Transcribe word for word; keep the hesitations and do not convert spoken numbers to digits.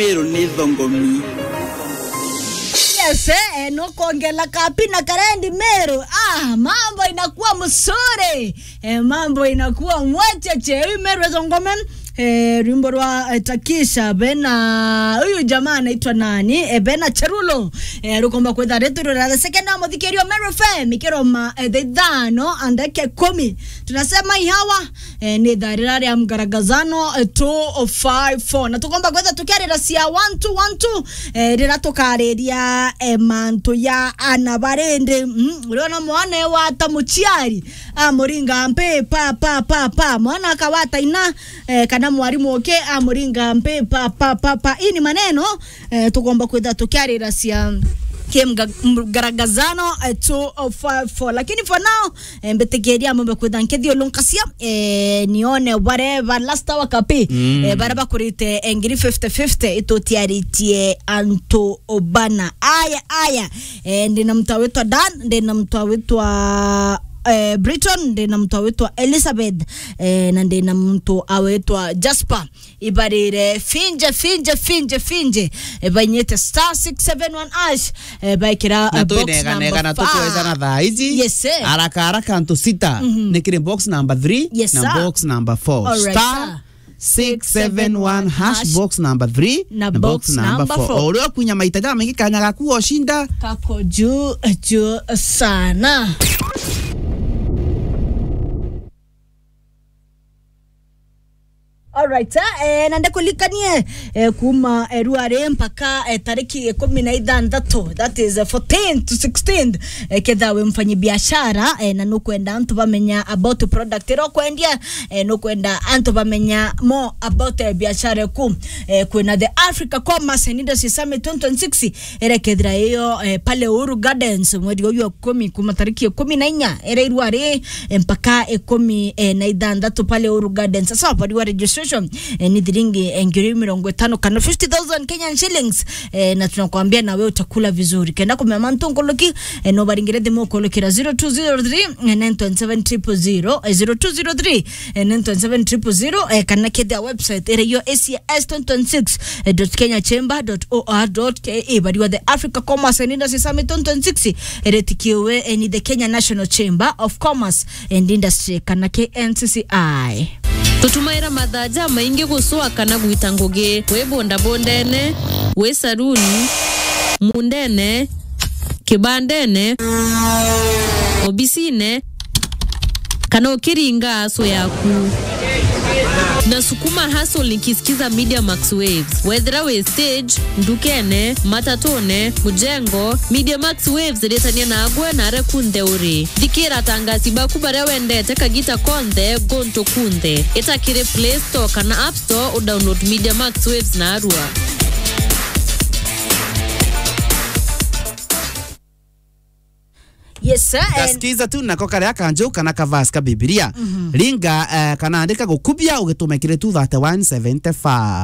Meru ni thongomi. Yes, eh, no kuongela kapi na karendi Meru. Ah, mambo inakuwa mzuri. Eh, mambo inakuwa mwecheche. Huyu Meru thongome. Eh, rwimbo rwa, eh, Takisha, bena, huyu jamaa anaitwa nani? Eh, bena Cherulo. Eh, rukomba kwetha retu rura the second wa muthikirio Meru F M, ikiroma, eh, the ithano, andeke kumi. Tunasema ihawa, eh, ni thaa rira ria mgaragazano, eh, two oh five four. Na tukomba kwetha tukiarira cia one two one two, eh, rira tukariria, eh, mantu ya ana barindi. Mm, uria na mwana wa ta muciari, amuringa mpi pa, pa, pa, pa. Mwana akawata ina, eh, kana mwarimu uki amuringa mpi pa, pa, pa, pa. Ii ni maneno, eh, tukomba kwetha tukiarira cia kimgaragazano, eh, two oh five four. Lakini for now, eh, mbitikiria mumbe kwitha nkithiulunkacia, eh, nione bare ba last hour kapi, mm, eh, bare bakurite, eh, ngiri fifty fifty, itutiaritie antu bana. Aya, aya, eh, ndina mtu awitwa Dan, ndina mtu awitwa, eh, Briton, ndina mtu awitwa Elizabeth, eh, na ndina mtu awitwa Jasper. Ibarire finje, finje, finje, finje. Eh, bainyite star six seven one hash, eh, baikira, na eh, box tuinega number na tukweza na five. Thaa ici. Yes, sir. Haraka haraka antu sita. Mhm. Ni kiri box number three, yes, na sir, box number four. All right, star six seven one hash, box number three, na box number four. O uria ukunya maita jamaingi kanya gaku oshinda. Kako juu, juu sana. Alright, eh, eh, na ndikulikanie, eh, kuma, eh, ruari mpaka, eh, tariki ikumi na ithanthatu, that is, eh, fourteenth to sixteenth, eh, ketha wi mfanyi biashara, eh, na nukwenda antu bamenya about product ira ukwendia, eh, nukwenda antu bamenya more about, eh, biashara eku, eh, kwina the Africa Commerce and Industry Summit twenty twenty-six, irekethira iyo, eh, pale Uhuru Gardens mweri uyu wa ikumi kuma tariki ikumi na inya ira irwari, eh, mpaka ikumi, eh, na ithanthatu pale Uhuru Gardens. Sasa wapariwa registration, eh, ni thiringi, eh, ngiri mirongo itano kana fifty thousand Kenyan shillings, eh, na tunakwambia na wewe utakula vizuri. Kenda kumenya mantu nkuluki, eh, no baringire thimu ukulukira zero two zero three, eh, nine twenty seven triple zero, eh, zero two zero three, eh, nine twenty seven triple zero, eh, kana kethia website ira iyo A C S twenty twenty-six dot kenya chamber dot O R dot K E, bariwa the Africa Commerce and Industry Summit twenty twenty-six, eretikiwe, eh, ni the Kenya National Chamber of Commerce and Industry, kana K N C C I. Tutumaira mathaa jamaingi gucua kana gwita ngugi, wi bondabondene, wi saruni, mundene, kibandene, obisine, kana ukiringa aso yaku. Na sukuma hustle nikisikiza Media Max Waves. Wethira wi stage, ndukene, matatune, mujengo, Media Max Waves iritania nagwe na aria kunthe uri. Thikira atangasi baku baria wendete kagita konthe, guntu kunthe. Ita kiri Play Store kana App Store udownload Media Max Waves narua. Yes, sir. And gaskiza tu nako karia kanju kana kavasi ka Bibilia. Mhm. Ringa, eh, kana andika gukubia ugitume kiri two thirty-one seventy-five.